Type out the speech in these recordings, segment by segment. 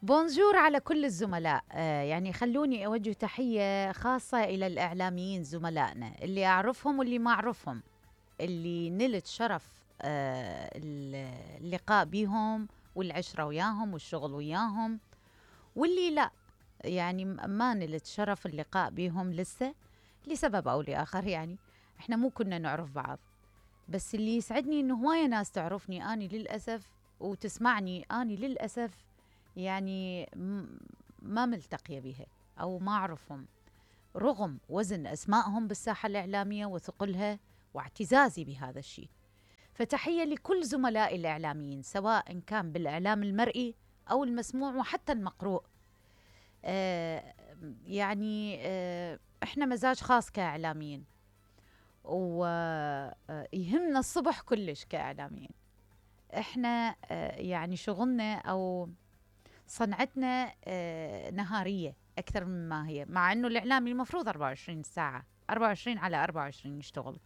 بونجور على كل الزملاء. يعني خلوني أوجه تحية خاصة إلى الإعلاميين زملائنا اللي أعرفهم واللي ما أعرفهم، اللي نلت شرف اللقاء بيهم والعشرة وياهم والشغل وياهم، واللي لا يعني ما نلت شرف اللقاء بيهم لسه لسبب أو لآخر. يعني إحنا مو كنا نعرف بعض، بس اللي يسعدني إنه هواية ناس تعرفني أني للأسف وتسمعني أني للأسف، يعني ما ملتقية بها أو ما أعرفهم، رغم وزن أسمائهم بالساحة الإعلامية وثقلها واعتزازي بهذا الشيء. فتحية لكل زملائي الإعلاميين سواء كان بالإعلام المرئي أو المسموع وحتى المقروء. يعني إحنا مزاج خاص كإعلاميين، ويهمنا الصبح كلش كإعلاميين. إحنا يعني شغلنا أو صنعتنا نهارية أكثر مما هي، مع أنه الإعلامي المفروض 24 ساعة 24 على 24 يشتغل،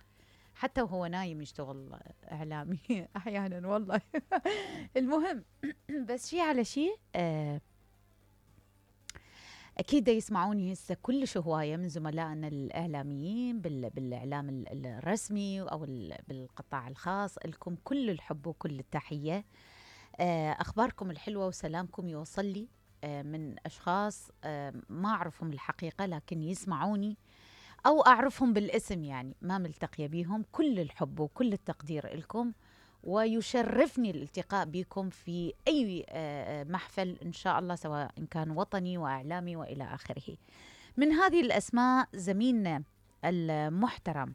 حتى وهو نايم يشتغل إعلامي أحيانا والله. المهم بس شي على شي، أكيد يسمعوني هسه كلش هواية من زملائنا الإعلاميين بالإعلام الرسمي أو بالقطاع الخاص. لكم كل الحب وكل التحية. أخباركم الحلوة وسلامكم يوصل لي من أشخاص ما أعرفهم الحقيقة لكن يسمعوني أو أعرفهم بالاسم، يعني ما ملتقية بيهم. كل الحب وكل التقدير لكم، ويشرفني الالتقاء بكم في أي محفل إن شاء الله، سواء إن كان وطني وإعلامي وإلى آخره. من هذه الأسماء زميلنا المحترم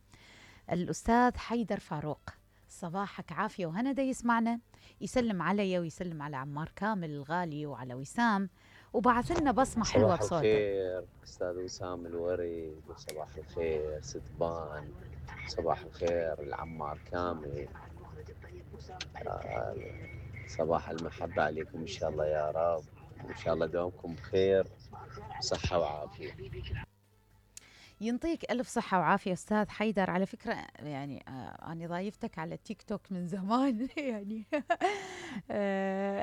الأستاذ حيدر فاروق، صباحك عافية وهنا دا يسمعنا، يسلم علي ويسلم على عمار كامل الغالي وعلى وسام، وبعث لنا بصمة حلوة بصوته. صباح الخير أستاذ وسام الوري، وصباح الخير ستبان، صباح الخير العمار كامل، صباح المحبة عليكم إن شاء الله يا رب، وإن شاء الله دوامكم بخير صحة وعافية. ينطيك ألف صحة وعافية أستاذ حيدر. على فكرة يعني أنا ضايفتك على التيك توك من زمان يعني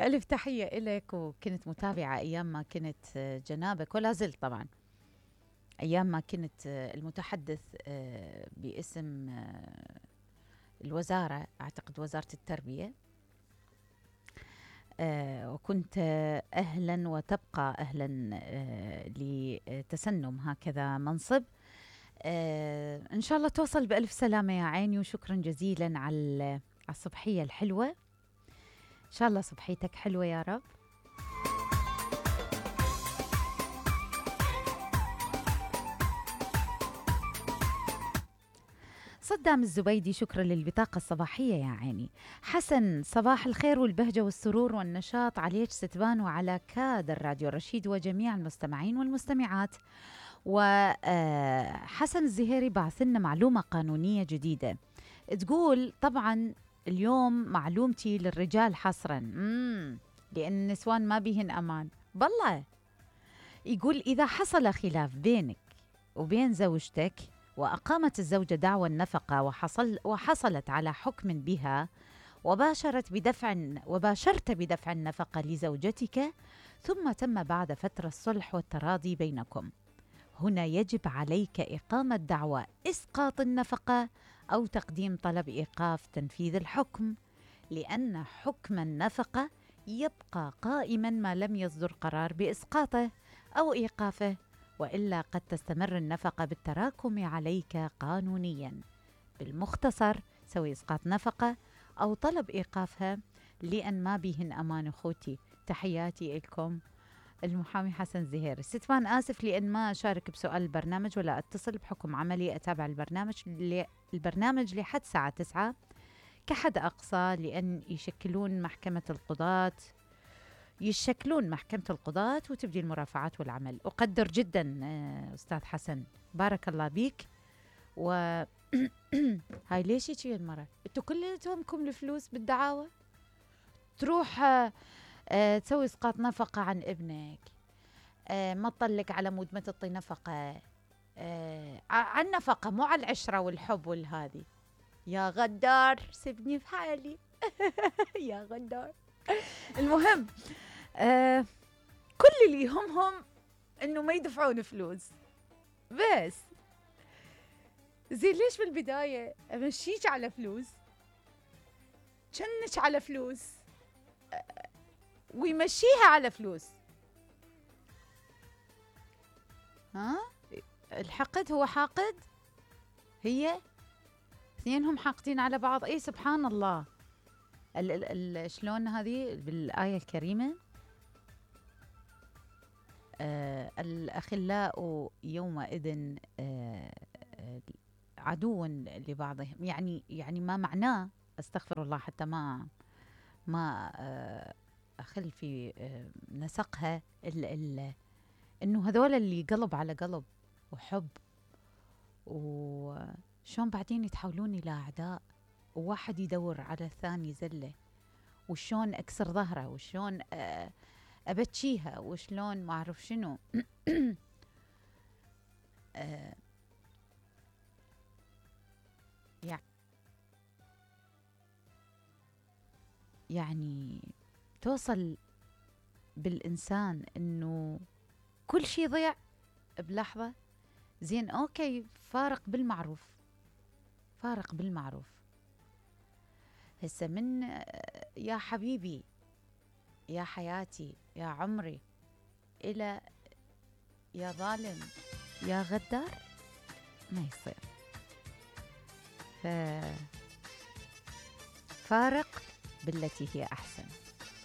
ألف تحية إلك، وكنت متابعة أيام ما كنت جنابك، ولا زلت طبعا أيام ما كنت المتحدث باسم الوزارة، أعتقد وزارة التربية، وكنت أهلا وتبقى أهلا لتسنم هكذا منصب. إن شاء الله توصل بألف سلامة يا عيني، وشكرا جزيلا على الصبحية الحلوة. إن شاء الله صبحيتك حلوة يا رب. صدام الزبيدي، شكرا للبطاقة الصباحية يا عيني. حسن، صباح الخير والبهجة والسرور والنشاط عليك ستبان وعلى كادر راديو رشيد وجميع المستمعين والمستمعات. وحسن الزهيري بعث لنا معلومة قانونية جديدة، تقول طبعا اليوم معلومتي للرجال حصرا، لأن النسوان ما بيهن أمان بالله. يقول إذا حصل خلاف بينك وبين زوجتك وأقامت الزوجة دعوى النفقة وحصلت على حكم بها، وباشرت بدفع النفقة لزوجتك، ثم تم بعد فترة الصلح والتراضي بينكم، هنا يجب عليك إقامة دعوى إسقاط النفقة أو تقديم طلب إيقاف تنفيذ الحكم، لأن حكم النفقة يبقى قائما ما لم يصدر قرار بإسقاطه أو إيقافه، وإلا قد تستمر النفقة بالتراكم عليك قانونيا. بالمختصر سوي إسقاط نفقة أو طلب إيقافها، لأن ما بيهن أمان أخوتي. تحياتي لكم المحامي حسن زهير. ستفان آسف لأن ما أشارك بسؤال البرنامج ولا أتصل، بحكم عملي أتابع البرنامج لحد الساعة 9 كحد أقصى، لأن يشكلون محكمة القضاة وتبدي المرافعات والعمل. أقدر جدا أستاذ حسن، بارك الله بيك. و هاي ليش يجي المرة؟ انتوا كلكم الفلوس بالدعاوى تروح تسوي اسقاط نفقة عن ابنك، ما تطلق على مود ما تعطي نفقة، عن نفقة مو على العشرة والحب والهذي. يا غدار سيبني في حالي. يا غدار. المهم كل اللي يهمهم انه ما يدفعون فلوس بس. زين ليش بالبداية امشيك على فلوس، جنك على فلوس، ويمشيها على فلوس؟ ها الحقد هو حاقد، هي اثنينهم حاقدين على بعض. اي سبحان الله. شلون هذه بالآية الكريمة، الأخلاء يومئذ عدو لبعضهم، يعني ما معناه، استغفر الله حتى ما أخل في نسقها، إنه هذول اللي قلب على قلب وحب، وشون بعدين يتحولون إلى أعداء، وواحد يدور على الثاني زلة، وشون أكسر ظهره، وشون أبتشيها، وشلون ما أعرف شنو. يعني توصل بالإنسان إنه كل شيء ضيع بلحظة. زين أوكي، فارق بالمعروف، فارق بالمعروف. هسه من يا حبيبي، يا حياتي، يا عمري، إلى يا ظالم، يا غدار، ما يصير. فارق بالتي هي أحسن.